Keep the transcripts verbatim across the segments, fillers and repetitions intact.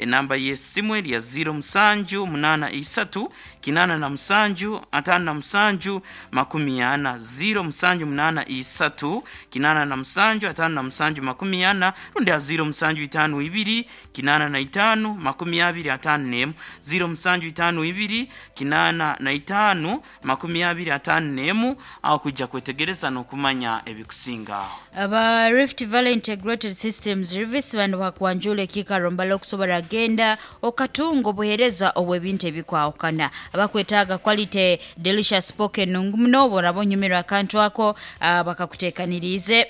Enamba y'esimu eri ya ziro musanju munaana isatu kinaana na musanju ataano na musanju makumi ana, ziro musanju munaana isatu kinaana na musanju ataano na musanju makumi ana, rundi ya ziro musanju itaano ibiri kinaana na itaano makumi abiri ataano n'emu, ziro musanju itaano ibiri kinaana na itaano makumi abiri ataano n'emu, aho kwijja kwetegereza n'okumanya ebikusinga aho. Aba Rift Valley Integrated Systems Service bano bakwanjula ekikaro mbala okusobola genda okatunga obuheereza obw'ebintu ebikwawukana. Abakwetaaga quality delicious poke nungu muno, boraba onyumirwa akantu ako, ah, bakakuteekaniriize.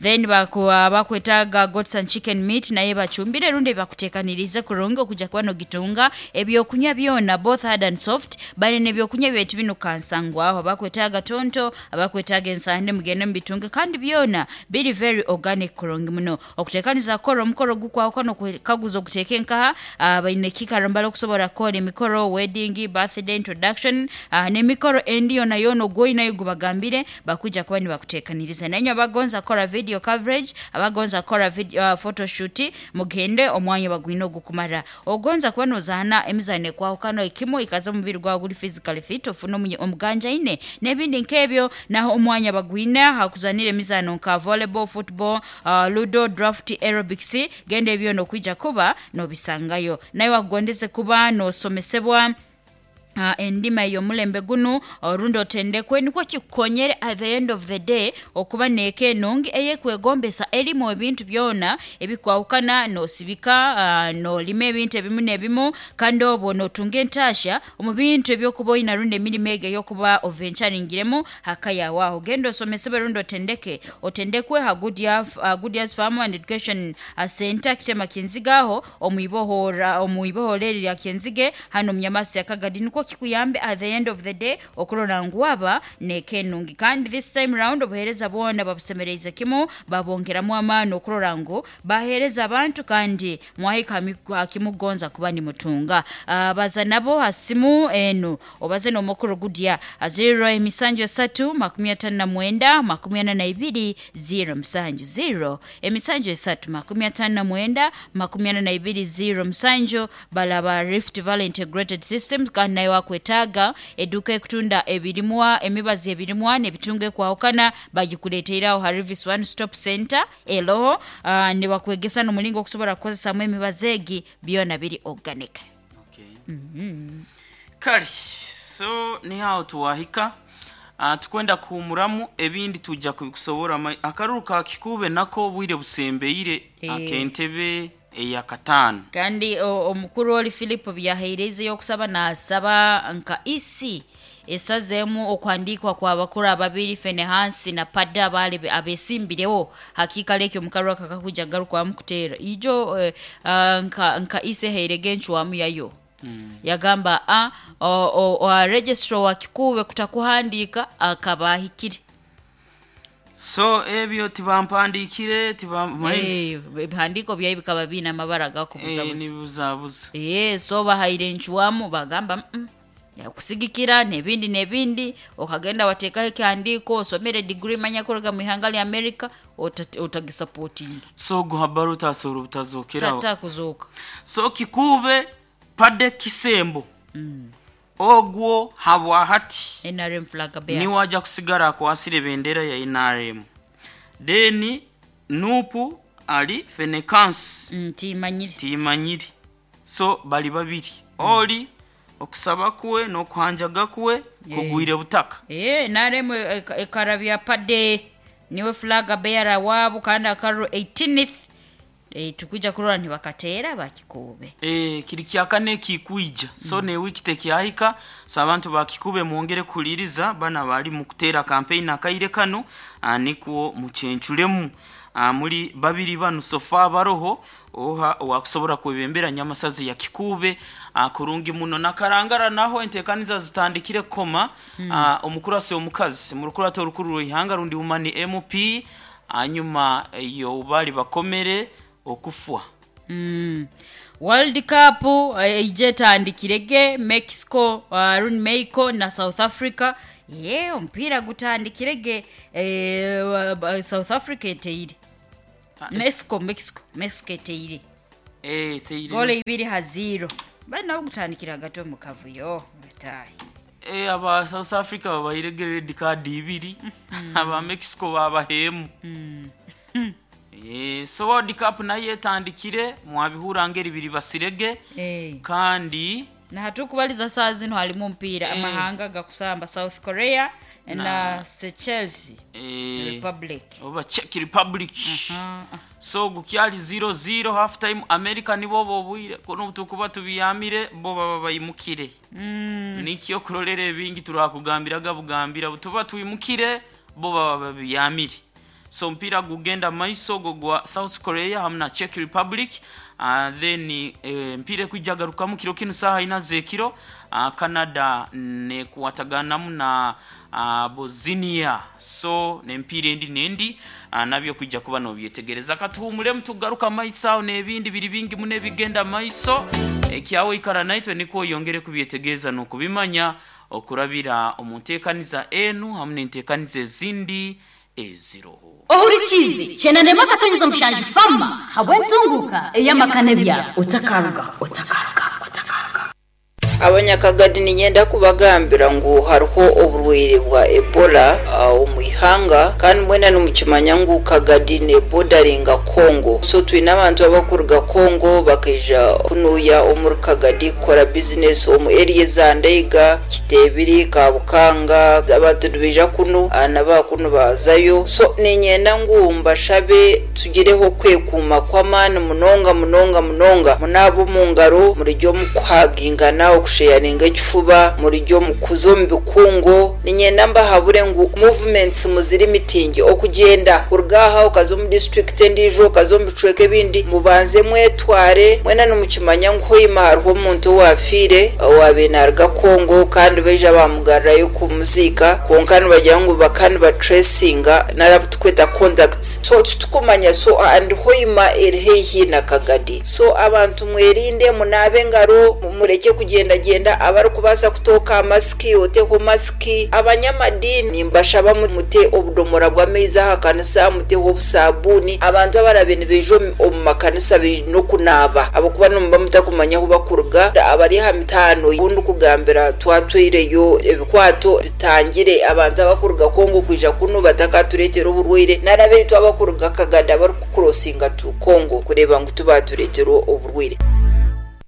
Then baku, ah, bakwetaaga goats and chicken meat, naye bacumbire rundi bakuteekaniriize kurungi okujja kuba nogitunga. Ebyokunywa byona both hard and soft, balina ebyokunywa byaitu binu kansangwaho. Abakwetaaga tonto, abakwetaaga ensande, mugende mubitunge, kandi byona biri very organic kurungi muno. Okuteekaniza kukora omukoro gukwawukana, okukaguza okuteeka enkaha, ah, baine ekikaro mbala okusobola kukora emikoro, wedding, birthday, introduction, ah, n'emikoro endi yona yona ogwoinayo gubagambire bakujja kuba nibakuteekaniriza. Nainywe abagonza kukora video coverage, abagonza kukora video, uh, photoshoot, mugende omwanya bagwine ogukumara. Ogonza kuba nozaana emizaano ekwawukana ekimu ikaza omubiri gwawe guri physically fit, ofune omunye- omuganjaine n'ebindi nk'ebyo, naho omwanya bagwine hakuzanira emizaano nka volleyball, football, uh, ludo, draft, aerobics, genda ebyo nokwija kuba nobisangayo. Naye wakugondeze kuba nosomesebwa Uh, endima ey'omulembe gunu orundi otendekwe, nikwo kikukonyere at the end of the day okuba neeka enungi eyekwegombesa erimu ebintu byona ebikwawukana, nosibika, uh, nolima ebintu ebimu n'ebimu, kandi obwo notunga entasha omu bintu ebyokuba oyina rundi emirimo ego ey'okuba oventuringiremu haka yawe. Aho genda osomesebwe rundi otendeke otendekwe ha Goodyear, uh, Goodyear's Farm and Education uh, Center Kitema Kinziga, aho omwibohora omwibohora eri lya Kyenzige hano omunyamasi ya Kagadi, nikwo kikuyambe at the end of the day okurora ngu waba neeka enungi. Kandi this time round obuheereza bwona babusemereize kimu, babongeramu amaani okurora ngu baheereza abantu kandi mwahika ha kimugonza kuba nimutunga. Uh, baza nabo ha simu enu, obaze n'omukuru Goodyear ziro emisanju esatu makumi atano na mwenda makumi ana na ibiri ziro musanju, ziro emisanju esatu makumi atano na mwenda makumi ana na ibiri ziro musanju. Balaba Rift Valley Integrated Systems. Kandi naye wakwetaaga edduuka ekutunda ebirimwa, emibazi, ebirimwa n'ebitunga ekwawukana, bagikuleteerawo ha Rivis One Stop Center eroho, uh, nibakwegesa n'omulingo okusobola kukozesamu emibazi egi, byona biri organic. Okay. Kale so nihaho tuwahika, uh, tukwenda kuhumuramu, ebindi tujja kubikusobora. ma- akaruru ka Kikuube nako obwire busembeire. Eh. Ak'entebe eyakataano. Kandi o- omukuru oli Philip byahaireizeyo okusaba, nasaba nka E C esazeemu okuhandiikwa kwa bakuru ababiri, Fenehansi na Pada, abaali be- abesimbirewo hakiikaro ekyo omukaru aka kakuja garukwamu kuteera ijo, eh, ah, nka, nka E C ehairege encwamu yayo mm. Yagamba a o, o, o, registrar wa Kikuube kutakuhandiika akaba ahikire. So ebyo tibampandiikire tiba Eh, ebihandiiko byayo bikaba biine amabara eh, gakubuzabuza. Nibuzabuza. Eh, so bahaire encwamu bagamba, mm, kusigikira n'ebindi n'ebindi, okagenda wateekaho ekihandiiko osomere degree manya kuruga mu ihanga lya America, ota- otagisupporting. So guhabara utasohora obutazokeraho. Takuzuuka. So Kikuube Pade Kisembo ogwo habwahati N R M flag bearer. Niwe ajja kusigara akwasire bendera ya N R M, then N U P ali Fenekansi. Mm, timanyire. Timanyire, so bali babiri, oli okusaba kwe n'okuhanjaga kwe kugwire butaka. Eh, N R M eka- ekarabya Pade niwe flag bearer waabo, kandi akaruru eighteenth, eh, tukuja kurora ntibakateera bakikuube. E, kiri kyakane kikwija, so mm. Newiki tekyahika, so abantu bakikube mwongere kuliriza bana bali mu kuteera campaign akaire kano, ah, nikwo muchenchulemu. ah, muri babiri banu sofa baroho oha wakusobora kwebembera Nyamasazi ya Kikube, ah, kurungi muno. Nakarangara naho entekaniza zitandikire koma mm. ah, omukurasi omukazi murukurato orukuru rw'ihanga rundi umani M P hanyuma iyo bali bakomere okufwa. Mm. World Cup eh, ije etandikirege Mexico, uh, rundi Mexico na South Africa. Ye omupiira gutandikirege, eh, wa- ba- South Africa eteire Mexico, Mexico, Mexico eteire. Eh, teire Goal ibiri ha zero. Bali nabo gutandikira hagati omu kavuyo batayi. Eh, aba South Africa babaire red card ibiri, aba Mexico babahemu. Eh, so World Cup nayo etandikire, mwabihura ngeri biri basirege. Eh. Kandi Na hatukubaliza saa zino halimu mpira amahanga gakusamba South Korea na, na Seychelles eh, Republic. oba Czech Republic. Ah, ah. So gukyali zero zero half time. America nibo bobwire kuno tukuba tubiyamire, bo baba bayimukire. Mm. Nikyo kurolera ebingi turakugambiraga bugambira butuba twimukire, bo baba babiyamire. So mpira gugenda maiso go gwa South Korea hamwe na Czech Republic. uh, then eh, mpira ekwijagarukamu kiro kinu saha ina zekiro, uh, Canada nekuwataganamu na uh, Bosnia. So nempira endi nendi, uh, nabyo kwijja kuba nobyetegereza. Katuhumulemu tugaruka maiso aho n'ebindi biri bingi mune bigenda maiso. Ekyawe ikara naitwe niko yongere kubyetegereza n'okubimanya okurabira omu nteekaniza enu hamwe n'enteekaniza ezindi eziroho. Ohurikize chenanema akatonyeza mushanju fama habwentunguka eyamakane bya otakaruga otakaruga otakaruga. Abanyakagadi ninyenda kubagambira ngu hariho oburwaire bwa Ebola uh, omu ihanga, kandi mwena nimukimanya ngu Kagadi nebodaringa Congo. So twine abantu abakuruga Congo bakaija kunuya omuri Kagadi kukora bizinesi omu area za Ndeiga, Kitebiri, Kabukanga. Abantu nibaija kunu uh, nabakunu bazayo. So ninyenda ngu mbashabe tugireho kwekuuma kw'amaani munonga munonga munonga, munaaba omu ngaro, murijya omu kuhagingana, okusheyaringa ekifuba, murijya omu kuza omu bikungu. Ninyenda mbahabure ngu movements muziri mitingi, okugyenda kuruga aha okaza omu district endiijo, okaza omu bicweka ebindi, mubanze mwetware. Mwena nimukimanya ngu hoima hariho omuntu owafiire owabiire naruga Congo, kandi baija bamugarurayo kumuziika, kwonka nibagira ngu baka nibatracinga narabu tukweta contacts, so titukumanya. So and hoima eri haihi na Kagadi, so abantu mwerinde, munaabe engaro, mureke kugendagenda. Abarikubaasa kutooka masiki, oteho masiki. Abanyamadini mbashaba mute obudomora bw'amaizi aha kanisa, muteho obusabuuni. Abantu abarabe nibaija omu- omu makanisa baine okunaaba, ahabw'okuba nimuba mutakumanya ahu bakuruga. Abari aha mitaano obundi kugambira twatwireyo ebikwato bitangire abantu abakuruga Kongo kwija kunu batakatureetera oburwaire, nari abaitu abakuruga Kagadi abarikukurosinga tu Kongo kureeba ngu tubatureetera oburwaire.